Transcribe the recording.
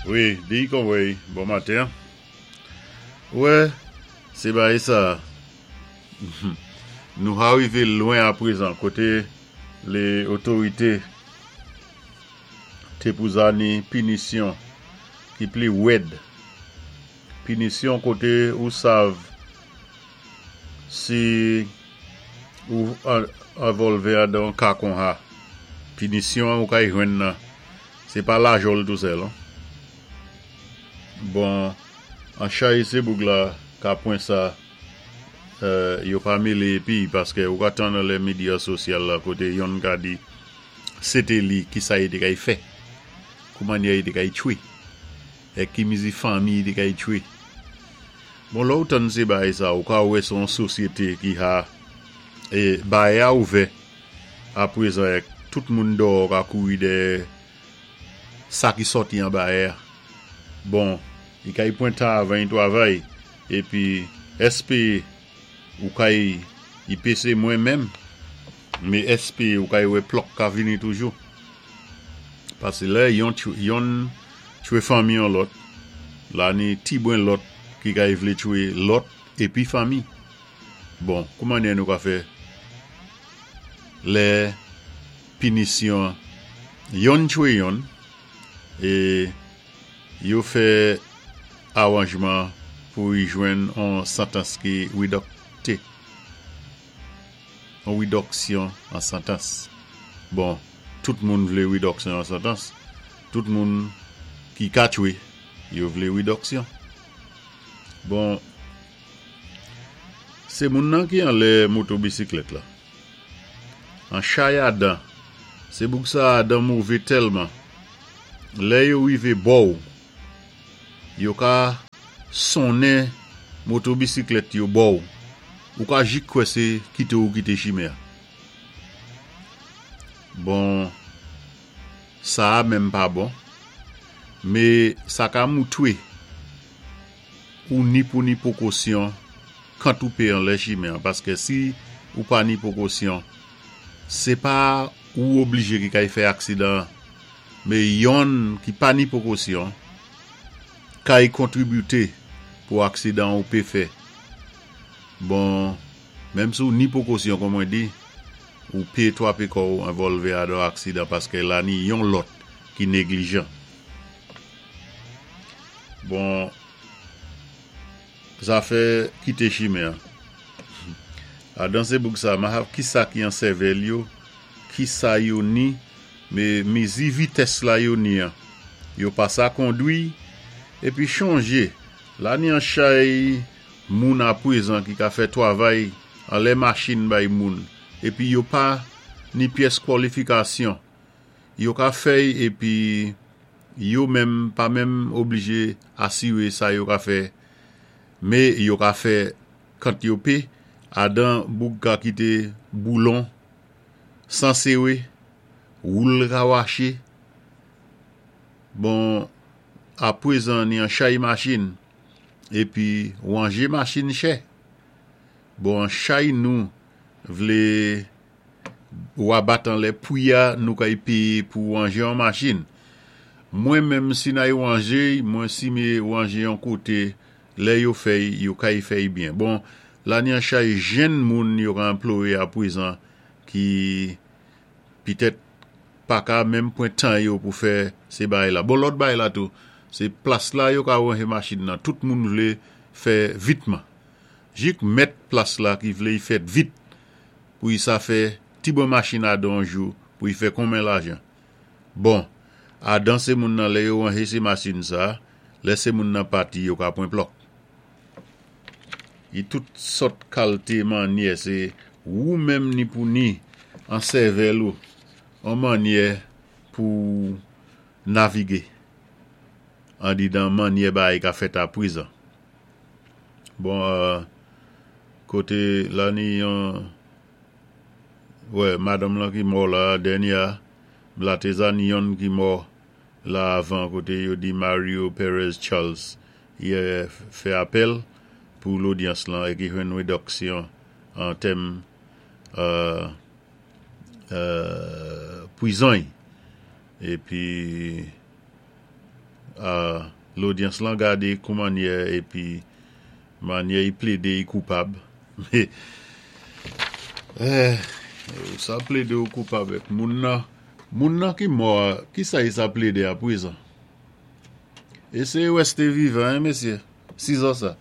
Wi, di Conway, bon maten. Wè, sé bagay sa nou arivé lwen aprezan koté lé otorité té pou zani pinisyon ki pli wèd, pinisyon koté ou sav si ou envòlvé adan yon ka konha, pinisyon an ou kay jwenn nan Se pa lajòl tou sèl non. Bon an chay se boug la ka pwen sa yo pa mele epi paske ou ka tann lè media sosyal la kote yonn ka di se te li kisa li te kay fè kouman li te kay tchwe e ki mizi fanmi li te kay tchwe bon lè ou tann se bagay sa ou ka wè se yon sosyete ki ha e bayè a ouvè Aprezan ek tout moun dòò ka kouri dèyè sa ki sòti anba è a. Bon, i kay pwen tan avan i twavay, epi èspe ou kay i pese mwen menm, me èspe ou kay wè plòk ka vini toujou. Pase lè yon yonn tchwe fanmi yon lòt, la ni ti bwen lòt ki kay vle tchwe lòt epi fanmi. Bon, koumannyè nou ka fè lè pinisyon yonn tchwe yonn e yo fè aranjman pou y jwenn on santans ki widòkte, on widòksyon an santans. Bon, tout moun vle widòksyon an santans, tout moun ki ka tchwe, yo vle widòksyon. Bon. Se moun nan ki anlè moto bisiklèt la. An chay Adan, se boug sa Adan move tèlman, lè yo rive bò w, yo ka sonnen moto bisiklèt yo bò w, ou ka jik kwè se kite ou kite chimè a. Bon, sa a menm pa bon, me sa ka moutwe. Ou ni pou ni pokosyon kant ou pe anlè chimen an paskè si ou pa ni pokosyon se pa ou oblije ki kay fè aksidan an me yonn ki pa ni pokosyon kay kontribite pou aksidan ou pe fè bon menm si ou ni pokosyon kon mwen di ou pe twape kò ou envòlve adò aksidan paskè la ni yon lòt ki neglijan. Bon zafè kite chimè an. Adan se boug sa mahav kisa ki an sèvèl yo kisa yo ni me mezi vitès la yo ni an yo pa sa kondwi epi chonje la ni an chay moun apwezan ki ka fè twavay anlè machin bay moun epi yo pa ni pyès kwòlifikasyon yo ka fèy epi Yo menm pa menm oblije asire sa yo ka fè me yo ka fè kant yo pe adan boug ka kite boulon sere woul ka wache bon apwezan ni an chay machin epi wanje machin chè bon an chay nou vle Wa bat anlè pwi a nou kay peye pou ranje yon machin. Mwen menm si nay ranje mwen si me ranje yon kote lè yo fèy yo kay fèy byen. Bon la ni an chay jenn moun yo ka anplore a pwezan ki pitèt paka menm pwen tan yo pou fè se bagay la. Bon lòt bagay la tou se plas la yo ka ranje machin nan tout moun vle fè vitman. Jik mèt plas la ki vle y fèt vit pou y sa fè ti bon machin Adan on jou pou y fè konmen lajan. Bon, Adan se moun nan lè yo ranje se machin sa, lè se moun nan pati yo ka pwen plòk. Y tout sòt kalte mannyè se wou menm ni pou ni an sèvèl ou on mannyè pou w navige andidan mannyè bagay ka fèt apwezan. Bon kote la ni yon wè madanm lan ki mò la dènye a la te za ni yonn ki mò la avan kote yo di Mario Perez Charles yè fè apèl pou lodyans lan e ki jwenn redoksyon an tèm pwizon y epi. Lodyans lan gadé kou mannyè épi mannyè i plédé i koupab. Ou sa plédé ou koupab èk moun nan, moun nan ki mò a, kisa i sa plédé apwézan? Éséyé wè si té vivan, hein, mésyé, sizan sa.